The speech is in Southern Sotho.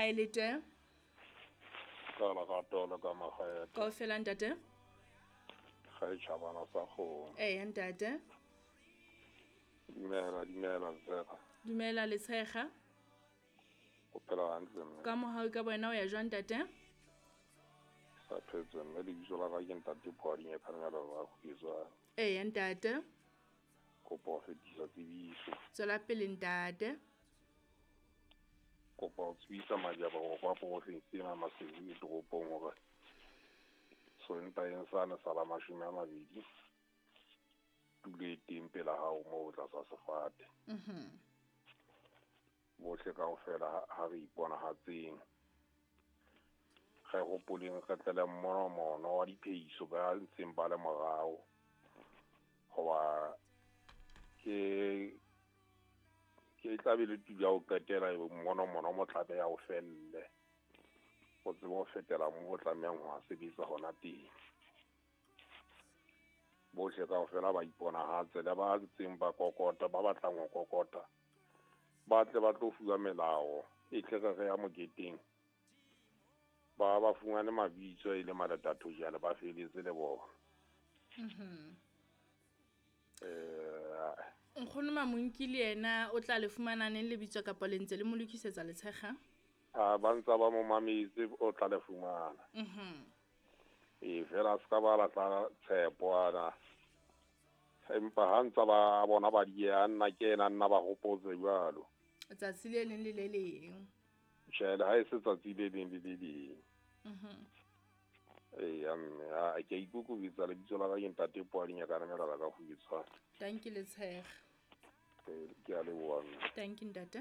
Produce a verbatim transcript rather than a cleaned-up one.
Kae le teng? Ka lerato le ka makgethe. Kaofela ntate? Ga e tjhabana sa kgomo. Eya ntate. Dumela, dumela Letshega. Dumela Letshega. O phela hantle mme. Ka mohau ka wena o ya jwang ntate? Sa phetse mme, lebitso la ka ke ntate Phoading Khanela ba Kgwetswane. Eya ntate. Kopa ho fetisa tsebiso. Tswela pele ntate. Kopa ho tsebisa majaba hore kwa porofensi ena Maseru e toropong hore Sontaeng sane sa la mashome a mabedi tulo e teng pela hao moo tlasa sefate. Mhm. Bohle kaofela ha re iponahatseng. Re hopoleng re tlele mmono wa diphehiso ba ntseng ba le morao. Hoba ke ke tla be le tulo ya ho qetela mmono mono mo tlabe ya ho felle. O tsebe ho fetela moo o tlamehang ho sebetsa hona teng. Bohle kaofela ba iponahatse le ba ntseng ba kokota, ba batlang ho kokota. Ba tle ba tlo fuwa melao e tle re re ya moketeng. Ba ba fumane mabitso e le maletatho jwale ba feletse le bona. Mhm. Eh Nkgono Mamonki le yena o tla le fumana neng lebitso kapa le ntse le mo lokisetsa Letshega? Ah, ba ntse ba mo mametse o tla le fumana. Mhm. E fela se ka ba latla tshepo ana. Empa ha ntse ba bona ba dieha nna ke ena nna ba hopotse jwalo. Tsatsi le leng le le leng. Tjhe, ha e se tsatsi le leng le le leng. Mhm. Eya mme, a ke a ikokobetsa lebitso la ka ke ntate Phoading ya ka namela ka Kgwetswane. Tanki Letshega. Ke a leboha mme. Tanki ntate.